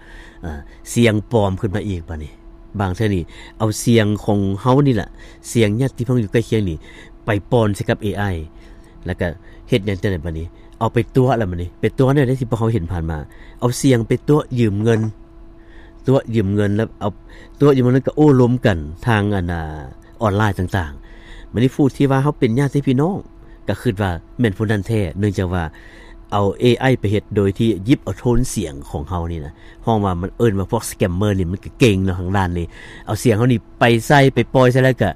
ເອີ ສຽງປອມຂຶ້ນມາອີກ. ບາດນີ້ບາງເທື່ອນີ້ເອົາສຽງຂອງເຮົານີ້ລະ, ສຽງຍາດຕິພີ່ນ້ອງຢູ່ໃກ້ຄຽງນີ້ ໄປປ້ອນໃສ່ກັບເອໄອ ແລ້ວກໍເຮັດຫຍັງຈັ່ງໃດບາດນີ້? ເອົາໄປຕົວະແລ້ວບາດນີ້, ໄປຕົວະແນວໃດທີ່ພວກເຮົາເຫັນຜ່ານມາ? ເອົາສຽງໄປຕົວະຢືມເງິນ, ຕົວະຢືມເງິນ ແລ້ວເອົາ ຕົວະຢືມເງິນ ແລ້ວກໍໂອ້ລົມກັນທາງ ອັນນ່າ ອອນລາຍຕ່າງໆ. ບາດນີ້ຜູ້ທີ່ວ່າເຮົາເປັນຍາດຕິພີ່ນ້ອງ ກໍຄິດວ່າແມ່ນຜູ້ນັ້ນແທ້, ເນື່ອງຈາກວ່າເອົາເອໄອໄປເຮັດໂດຍທີ່ຢິບເອົາໂທນສຽງຂອງເຮົານີ້ນະ, ຮ້ອງວ່າ ມັນເອີ້ນວ່າພວກສະແກມເມີນີ້ ມັນກໍເກັ່ງເນາະ ທາງດ້ານນີ້, ເອົາສຽງເຮົານີ້ໄປໃສ່ ໄປປ່ອຍໃສ່ ແລ້ວກໍ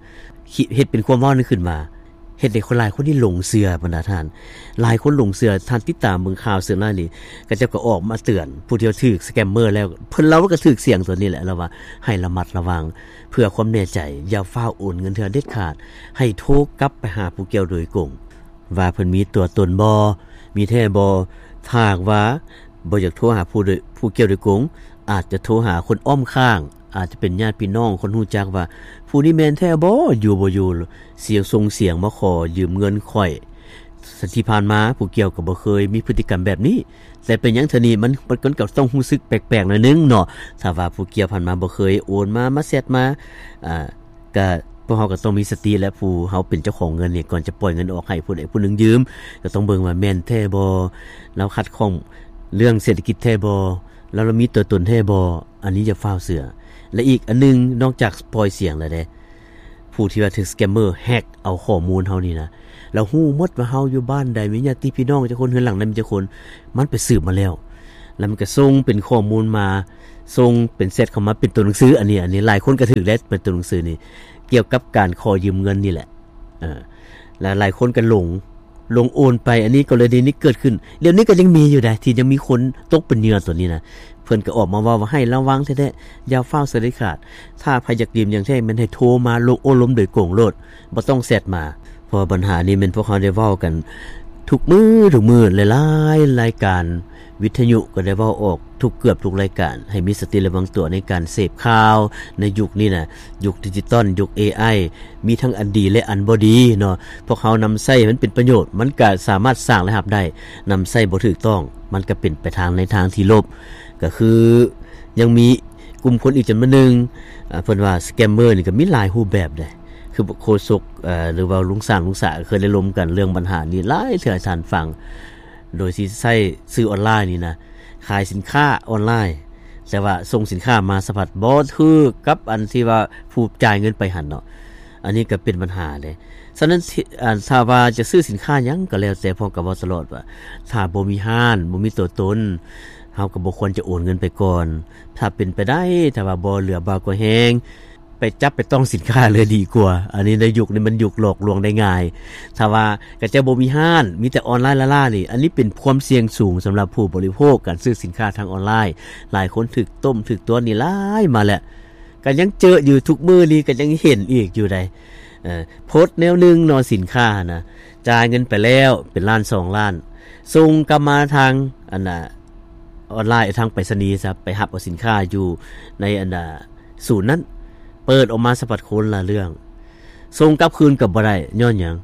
ເຮັດເປັນຄວາມເວົ້ານັ້ນຂຶ້ນມາ. ເຮັດໃຫ້ຄົນຫຼາຍຄົນນີ້ຫຼົງເຊື່ອ ບັນດາທ່ານ, ຫຼາຍຄົນຫຼົງເຊື່ອ. ທ່ານຕິດຕາມເບິ່ງຂ່າວເຊື່ອຫຼາຍນີ້ ເຂົາເຈົ້າກໍອອກມາເຕືອນຜູ້ທີ່ຖືກສະແກມເມີແລ້ວ, ເພິ່ນລາວກໍຖືກສຽງຕົວນີ້ແຫຼະ, ລາວວ່າໃຫ້ລະມັດລະວັງ ເພື່ອຄວາມແນ່ໃຈ ຢ່າຟ້າວໂອນເງິນເທື່ອເດັດຂາດ, ໃຫ້ໂທກັບໄປຫາຜູ້ກ່ຽວໂດຍກົງ ວ່າເພິ່ນມີຕົວຕົນບໍ່, ມີແທ້ບໍ່. ຖ້າຫາກວ່າບໍ່ຢາກໂທຫາຜູ້ໂດຍ, ຜູ້ກ່ຽວໂດຍກົງ, ອາດຈະໂທຫາຄົນອ້ອມຂ້າງ, ອາດຈະເປັນຍາດພີ່ນ້ອງ, ຄົນຮູ້ຈັກວ່າຜູ້ນີ້ແມ່ນແທ້ບໍ່, ຢູ່ບໍ່ຢູ່ ສຽງ ສົ່ງສຽງມາຂໍຢືມເງິນຂ້ອຍ. ທີ່ຜ່ານມາຜູ້ກ່ຽວກໍບໍ່ເຄີຍມີພຶດຕິກຳແບບນີ້, ແຕ່ເປັນຫຍັງເທື່ອນີ້ມັນ, ມັນກໍຕ້ອງຮູ້ສຶກແປກໆໜ້ອຍໜຶ່ງເນາະ. ຖ້າວ່າຜູ້ກ່ຽວຜ່ານມາບໍ່ເຄີຍໂອນມາ, ມາແຊັດມາ, ອ່າ ກະ ພວກເຮົາກໍຕ້ອງມີສະຕິ ແລະ ຜູ້ເຮົາເປັນເຈົ້າຂອງເງິນນີ້ ກ່ອນຈະປ່ອຍເງິນອອກໃຫ້ຜູ້ໃດຜູ້ໜຶ່ງຢືມ ກໍຕ້ອງເບິ່ງວ່າແມ່ນແທ້ບໍ່, ລາວຂັດຂ້ອງເລື່ອງເສດຖະກິດແທ້ບໍ່, ລາວ ລາວມີຕົວຕົນແທ້ບໍ່. ອັນນີ້ຢ່າຟ້າວເຊື່ອ. ແລະ ອີກອັນໜຶ່ງ ນອກຈາກປ່ອຍສຽງແລ້ວເດ້, ຜູ້ທີ່ວ່າຖືກສະແກມເມີແຮັກເອົາຂໍ້ມູນເຮົານີ້ນະ ລາວຮູ້ໝົດວ່າເຮົາຢູ່ບ້ານໃດ ມີຍາດຕິພີ່ນ້ອງຈັກຄົນ ເຮືອນຫຼັງໃດມີຈັກຄົນ ມັນໄປສືບມາແລ້ວ ແລ້ວມັນກໍສົ່ງເປັນຂໍ້ມູນມາ ສົ່ງເປັນແຊັດເຂົ້າມາເປັນຕົວໜັງສື. ອັນນີ້ ອັນນີ້ຫຼາຍຄົນກໍຖືກແລ້ວ ເປັນຕົວໜັງສືນີ້ ກ່ຽວກັບການຂໍຢືມເງິນນີ້ແຫຼະ. ເອີ ແລະຫຼາຍຄົນກໍຫຼົງ ຫຼົງໂອນໄປ. ອັນນີ້ກໍເລີຍ ນີ້ເກີດຂຶ້ນ ດຽວນີ້ກໍຍັງມີຢູ່ໃດ໋ ທີ່ຍັງມີຄົນຕົກເປັນເຫຍື່ອຕົວນີ້ນະ. ເພິ່ນກໍອອກມາເວົ້າວ່າໃຫ້ລະວັງແທ້ໆ ຢ່າຟ້າວສະເດັດຂາດ. ຖ້າໃຜຢາກຢືມຢ່າງແທ້ ແມ່ນໃຫ້ໂທມາລົມໂອ້ລົມໂດຍກົງໂລດ ບໍ່ຕ້ອງແຊັດມາ. ເພາະວ່າບັນຫານີ້ແມ່ນພວກເຮົາໄດ້ເວົ້າກັນທຸກມື້ ທຸກມື້ ຫຼາຍໆລາຍການ ວິທະຍຸກໍໄດ້ເວົ້າອອກທຸກ ເກືອບທຸກລາຍການ ໃຫ້ມີສະຕິລະວັງຕົວໃນການເສບຂ່າວໃນຍຸກນີ້ນະ ຍຸກດິຈິຕອນ ຍຸກເອໄອ ມີທັງອັນດີ ແລະ ອັນບໍ່ດີເນາະ. ພວກເຮົານຳໃຊ້ໃຫ້ມັນເປັນປະໂຫຍດ ມັນກະສາມາດສ້າງລາຍຮັບໄດ້, ນຳໃຊ້ບໍ່ຖືກຕ້ອງ ມັນກະເປັນໄປທາງ ໃນທາງທີ່ລົບ. ກະຄືຍັງມີກຸ່ມຄົນອີກຈຳນວນໜຶ່ງ ອາ ເພິ່ນວ່າສະແກມເມີນີ້ກະມີຫຼາຍຮູບແບບເດ້ ຄືໂຄສົກ ອາ ຫຼືວ່າລຸງຊ້າງ ລຸງສາ ເຄີຍໄດ້ລົມກັນເລື່ອງບັນຫານີ້ຫຼາຍເທື່ອໃຫ້ທ່ານຟັງ ໂດຍທີ່ໃຊ້ສື່ອອນລາຍນີ້ນະ ຂາຍສິນຄ້າອອນລາຍ ແຕ່ວ່າສົ່ງສິນຄ້າມາສະພັດບໍ່ຖືກກັບອັນທີ່ວ່າຜູ້ຈ່າຍເງິນໄປຫັ້ນເນາະ. ອັນນີ້ກໍເປັນບັນຫາເດ້. ສະນັ້ນ ອາ ຖ້າວ່າຈະຊື້ສິນຄ້າຫຍັງກໍແລ້ວແຕ່ ພວກເຮົາກໍເວົ້າຕະຫຼອດວ່າ ຖ້າບໍ່ມີຮ້ານ ບໍ່ມີຕົວຕົນ ເຮົາກໍບໍ່ຄວນຈະໂອນເງິນໄປກ່ອນ. ຖ້າເປັນໄປໄດ້ ຖ້າວ່າບໍ່ເຫຼືອບ່າກວ່າແຮງ ໄປຈັບໄປຕ້ອງສິນຄ້າເລີຍດີກວ່າ. ອັນນີ້ໃນຍຸກນີ້ມັນຍຸກຫຼອກລວງໄດ້ງ່າຍ. ຖ້າວ່າຂະເຈົ້າບໍ່ມີຮ້ານ ມີແຕ່ອອນລາຍລ້າໆນີ້ ອັນນີ້ເປັນຄວາມສ່ຽງສູງສຳລັບຜູ້ບໍລິໂພກ ການຊື້ສິນຄ້າທາງອອນລາຍ. ຫຼາຍຄົນຖືກຕົ້ມຖືກຕົວະນີ້ຫຼາຍມາແລ້ວ ກໍຍັງເຈີຢູ່ທຸກມື້ນີ້ ກໍຍັງເຫັນອີກຢູ່ໃດ໋. ເອີ ໂພສແນວໜຶ່ງເນາະ ສິນຄ້າຫັ້ນນະ ຈ່າຍເງິນໄປແລ້ວເປັນລ້ານສອງລ້ານ ສົ່ງກັບມາທາງ ອັນນ່າ ອອນລາຍ ທາງໄປສະນີຊະ ໄປຮັບເອົາສິນຄ້າຢູ່ໃນ ອັນນ່າ ສູນນັ້ນ ເປີດອອກມາສະພັດຄົນລະເລື່ອງ ສົ່ງກັບຄືນກໍບໍ່ໄດ້ ຍ້ອນຫຍັງ?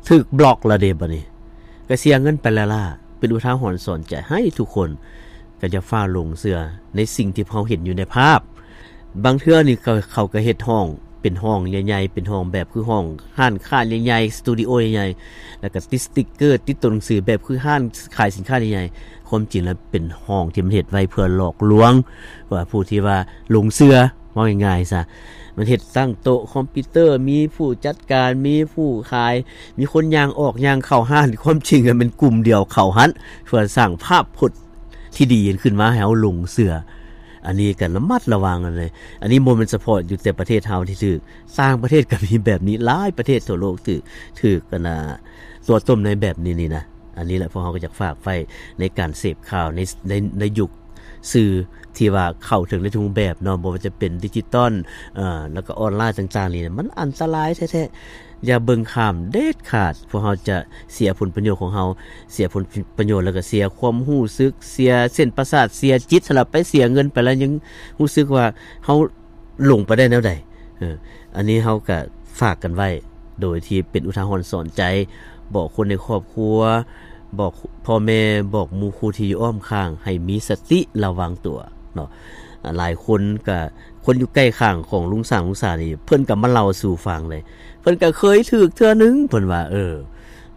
ຖືກບລັອກລະເດ ບາດນີ້ ກໍເສຍເງິນໄປລ້າໆ. ເປັນອຸທາຫອນສອນໃຈໃຫ້ທຸກຄົນ ກໍຢ່າຟ້າວຫຼົງເຊື່ອໃນສິ່ງທີ່ເຮົາເຫັນຢູ່ໃນພາບ. ບາງເທື່ອນີ້ເຂົາ ເຂົາກໍເຮັດຫ້ອງເປັນຫ້ອງໃຫຍ່ໆ ເປັນຫ້ອງແບບຄືຫ້ອງຮ້ານຄ້າໃຫຍ່ໆ ສະຕູດິໂອໃຫຍ່ໆ ແລ້ວກໍຕິດສະຕິກເກີ ຕິດຕົວໜັງສືແບບຄືຮ້ານຂາຍສິນຄ້າໃຫຍ່ໆ. ຄວາມຈິງແລ້ວເປັນຫ້ອງທີ່ມັນເຮັດໄວ້ເພື່ອຫຼອກລວງ ວ່າຜູ້ທີ່ວ່າຫຼົງເຊື່ອ ເວົ້າງ່າຍໆຊະ. ມັນເຮັດຕັ້ງໂຕະຄອມພິວເຕີ ມີຜູ້ຈັດການ ມີຜູ້ຂາຍ ມີຄົນຍ່າງອອກຍ່າງເຂົ້າຮ້ານ. ຄວາມຈິງແລ້ວແມ່ນກຸ່ມດຽວເຂົ້າຫັ້ນ ເພື່ອສ້າງພາບພົດທີ່ດີຂຶ້ນມາໃຫ້ເຮົາຫຼົງເຊື່ອ. ອັນນີ້ກໍລະມັດລະວັງເລີຍ. ອັນນີ້ບໍ່ແມ່ນສະເພາະຢູ່ແຕ່ປະເທດເຮົາທີ່ຖືກ, ຕ່າງປະເທດກໍມີແບບນີ້, ຫຼາຍປະເທດທົ່ວໂລກຖືກ, ຖືກ ອັນນ່າ ຕົວະຕົ້ມໃນແບບນີ້ນີ້ນະ. ອັນນີ້ແຫຼະ ພວກເຮົາກໍຢາກຝາກໄວ້ໃນການເສບຂ່າວໃນ ໃນ ໃນຍຸກສື່ທີ່ວ່າເຂົ້າເຖິງໃນທຸກຮູບແບບເນາະ, ບໍ່ວ່າຈະເປັນດິຈິຕອນ ເອີ ແລ້ວກໍອອນລາຍຕ່າງໆນີ້ນະ, ມັນອັນຕະລາຍແທ້ໆ. ຢ່າເບິ່ງຂ້າມເດັດຂາດ, ພວກເຮົາຈະເສຍຜົນປະໂຫຍດຂອງເຮົາ, ເສຍຜົນປະໂຫຍດ ແລ້ວກໍເສຍຄວາມຮູ້ສຶກ, ເສຍເສັ້ນປະສາດ, ເສຍຈິດ, ສຳລັບໄປເສຍເງິນໄປແລ້ວຍັງຮູ້ສຶກວ່າເຮົາ ລົງໄປໄດ້ແນວໃດ? ເອີ ອັນນີ້ເຮົາກະຝາກກັນໄວ້ ໂດຍທີ່ເປັນອຸທາຫອນສອນໃຈ, ບອກຄົນໃນຄອບຄົວ, ບອກພໍ່ແມ່, ບອກໝູ່ຄູ່ທີ່ຢູ່ອ້ອມຂ້າງ ໃຫ້ມີສະຕິລະວັງຕົວເນາະ. ອາ ຫຼາຍຄົນກະ ຄົນຢູ່ໃກ້ຂ້າງຂອງລຸງຊ້າງ ລຸງສານີ້ ເພິ່ນກະມາເລົ່າສູ່ຟັງເລີຍ, ເພິ່ນກະເຄີຍຖືກເທື່ອໜຶ່ງ ເພິ່ນວ່າ ເອີ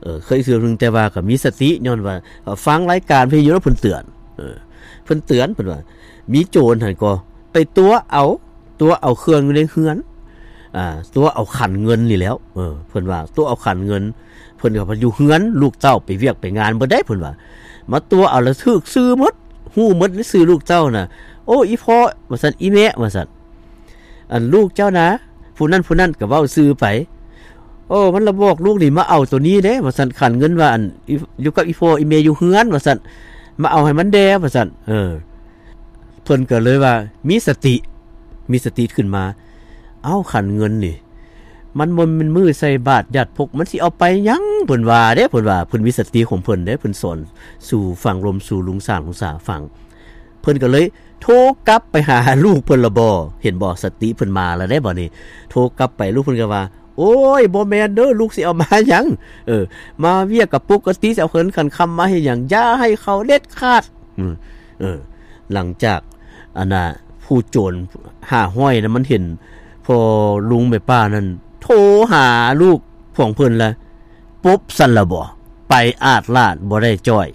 ເອີ ເຄີຍຖືກເທື່ອໜຶ່ງ ແຕ່ວ່າກະມີສະຕິ ຍ້ອນວ່າ ເອີ ຟັງລາຍການວິທະຍຸແລ້ວເພິ່ນເຕືອນ, ເອີ ເພິ່ນເຕືອນ ເພິ່ນວ່າ ມີໂຈນຫັ້ນກໍ ໄປຕົວະເອົາ, ຕົວະເອົາເຄື່ອງຢູ່ໃນເຮືອນ, ອາ ຕົວະເອົາຂັນເງິນນີ້ແຫຼ້ວ. ເອີ ເພິ່ນວ່າຕົວະເອົາຂັນເງິນ, ເພິ່ນກໍຢູ່ເຮືອນ, ລູກເຕົ້າໄປວຽກໄປງານເບິດເດ້ ເພິ່ນວ່າ, ມາຕົວະເອົາແລ້ວຖືກຊື່ໝົດ, ຮູ້ໝົດໃນຊື່ລູກເຕົ້ານະ. ໂອ້ ອີພໍ່ ວ່າຊັ້ນ, ອີແມ່ ວ່າຊັ້ນ, ອັນລູກເຈົ້ານະ ຜູ້ນັ້ນຜູ້ນັ້ນ ກໍເວົ້າຊື່ໄປ. ໂອ້ ມັນລະບອກລູກນີ້ມາເອົາໂຕນີ້ເດ້ ວ່າຊັ້ນ, ຂັນເງິນວ່າ ອັນ ຢູ່ກັບອີພໍ່ອີແມ່ຢູ່ເຮືອນ ວ່າຊັ້ນ, ມາເອົາໃຫ້ມັນແດ່ ວ່າຊັ້ນ. ເອີ ເພິ່ນກໍເລີຍວ່າມີສະຕິ, ມີສະຕິຂຶ້ນມາ. ເອົ້າ ຂັນເງິນນີ້ ມັນບໍ່ແມ່ນມື້ໃສ່ບາດຍາດພົກ, ມັນຊິເອົາໄປຫຍັງ? ເພິ່ນວ່າເດ້, ເພິ່ນວ່າເພິ່ນມີສະຕິຂອງເພິ່ນເດ້, ເພິ່ນສອນສູ່ຟັງລົມສູ່ລຸງຊ້າງລຸງສາຟັງ. ເພິ່ນກໍເລີຍໂທກັບໄປຫາລູກເພິ່ນລະບໍ, ເຫັນບໍ່? ສະຕິເພິ່ນມາລະເດ້ບາດນີ້. ໂທກັບໄປ ລູກເພິ່ນກໍວ່າ ໂອ້ຍ ບໍ່ແມ່ນເດີ, ລູກຊິເອົາມາຫຍັງ? ເອີ ມາວຽກກໍປົກກະຕິ, ຊິເອົາເງິນຂັນຄຳມາເຮັດຫຍັງ? ຢ່າໃຫ້ເຂົາເດັດຂາດ. ເອີ ເອີ ຫຼັງຈາກ ອັນນ່າ ຜູ້ໂຈນຫ້າຮ້ອຍນະ ມັນເຫັນພໍ່ລຸງແມ່ປ້ານັ້ນໂທຫາລູກຂອງເພິ່ນລະ ປົບຊັ້ນລະບໍ, ໄປອາດລາດ ບໍ່ໄດ້ຈ້ອຍ.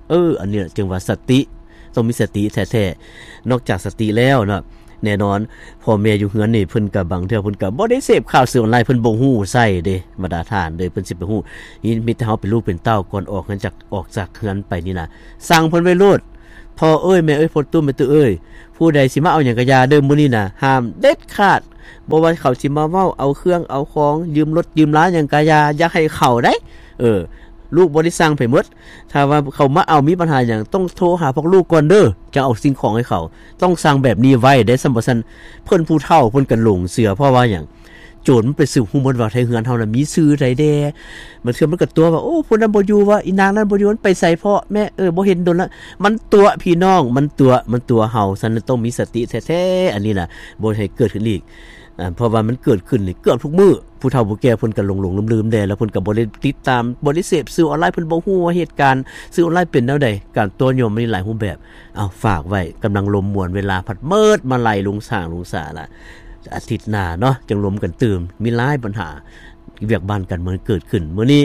ເອີ ອັນນີ້ແຫຼະຈຶ່ງວ່າສະຕິ, ຕ້ອງມີສະຕິແທ້ໆ. ນອກຈາກສະຕິແລ້ວເນາະ, ແນ່ນອນ ພໍ່ແມ່ຢູ່ເຮືອນນີ້ ເພິ່ນກໍບາງເທື່ອເພິ່ນກໍບໍ່ໄດ້ເສບຂ່າວສື່ອອນລາຍ ເພິ່ນບໍ່ຮູ້ໃຊ້ເດ້ ບັນດາທ່ານເດີ ເພິ່ນຊິໄປຮູ້ ມີ ມີແຕ່ເຮົາເປັນລູກເປັນເຕົ້າ ກ່ອນອອກເຮືອນຈາກ ອອກຈາກເຮືອນໄປນີ້ນະ ສັ່ງເພິ່ນໄວ້ໂລດ ພໍ່ເອີຍ ແມ່ເອີຍ ພໍ່ຕູ້ ແມ່ຕູ້ເອີຍ ຜູ້ໃດຊິມາເອົາຫຍັງກະຢ່າເດີ ມື້ນີ້ນະ ຫ້າມເດັດຂາດ ບໍ່ວ່າເຂົາຊິມາເວົ້າເອົາເຄື່ອງເອົາຂອງ ຢືມລົດຢືມລາຫຍັງກະຢ່າ ຢ່າໃຫ້ເຂົາໄດ໋ ເອີ ລູກບໍ່ໄດ້ສັ່ງໃຜໝົດ ຖ້າວ່າເຂົາມາເອົາ ມີບັນຫາຫຍັງ ຕ້ອງໂທຫາພວກລູກກ່ອນເດີ ຈັ່ງເອົາສິ່ງຂອງໃຫ້ເຂົາ ຕ້ອງສັ່ງແບບນີ້ໄວ້ເດ້ ຊັ້ນບໍ່ຊັ້ນ ເພິ່ນຜູ້ເຖົ້າເພິ່ນກໍຫຼົງເຊື່ອ ເພາະວ່າຫຍັງ ໂຈນມັນໄປສືບຮູ້ໝົດວ່າ ໃນເຮືອນເຮົານະມີຊື່ໃດແດ່ ບາງເທື່ອມັນກໍຕົວະວ່າ ໂອ້ ຜູ້ນັ້ນບໍ່ຢູ່ວະ ອີນາງນັ້ນບໍ່ຢູ່ ມັນໄປໃສເພາະແມ່ ເອີ ບໍ່ເຫັນດົນລະ ມັນຕົວະພີ່ນ້ອງ ມັນຕົວະ ມັນຕົວະເຮົາ ຊັ້ນຕ້ອງມີສະຕິແທ້ໆ ອັນນີ້ນະ ບໍ່ໃຫ້ເກີດຂຶ້ນອີກ ອາ ເພາະວ່າມັນເກີດຂຶ້ນນີ້ເກືອບທຸກມື້ ຜູ້ເຖົ້າຜູ້ແກ່ເພິ່ນກໍຫຼົງໆລືມໆແດ່ ແລ້ວເພິ່ນກໍບໍ່ໄດ້ຕິດຕາມ ບໍ່ໄດ້ເສບສື່ອອນລາຍ ເພິ່ນບໍ່ຮູ້ວ່າເຫດການສື່ອອນລາຍເປັນແນວໃດ ການຕົວະຍົວະມັນມີຫຼາຍຮູບແບບ. ເອົາ ຝາກໄວ້ ກຳລັງລົມມ່ວນ ເວລາພັດໝົດມາໄລ່ລຸງຊ້າງລຸງສາລະ ອາທິດໜ້າເນາະ ຈັ່ງລົມກັນຕື່ມ ມີຫຼາຍບັນຫາ ວຽກບ້ານການເມືອງເກີດຂຶ້ນ ມື້ນີ້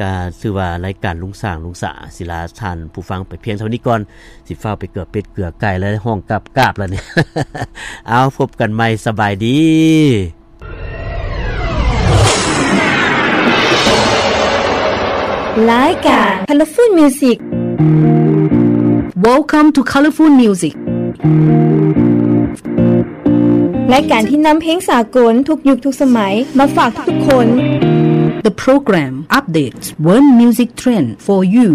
ກະຖືວ່າລາຍການລຸງຊ້າງລຸງສາ ສິລາທ່ານຜູ້ຟັງໄປພຽງເທົ່ານີ້ກ່ອນ ຊິຟ້າວໄປເກືອເປັດເກືອໄກ່ແລ້ວ ຮ້ອງກາບໆແລ້ວນີ້ ເອົາ ພົບກັນໃໝ່ ສະບາຍດີ. ລາຍການ Colorful Music. Welcome to Colorful Music. ລາຍການທີ່ນຳເພງສາກົນທຸກຍຸກທຸກສະໄໝມາຝາກທຸກໆຄົນ. The program updates world music trend for you.